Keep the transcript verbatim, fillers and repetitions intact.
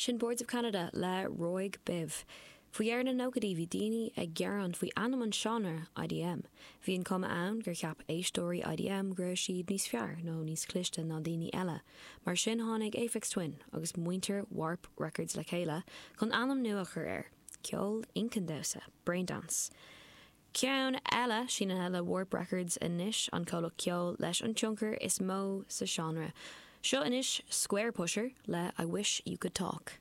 Sin Boards of Canada le Roygbiv. Faoi dheireadh na nóchaidí bhí daoine ag gearán faoi ainm an seánra IDM. Bhí an cuma ann gur cheap éisteoirí IDM go raibh siad níos fearr nó níos cliste ná daoine eile. Mar sin tháinig Aphex Twin agus muintir Warp Records le chéile chun ainm nua a chur air, ceol inchinn Braindance. Ceann eile sínithe le Warp Records anois an comhlacht ceoil leis an tionchar is mó sa seánra. Seo anois Squarepusher le I Wish You Could Talk.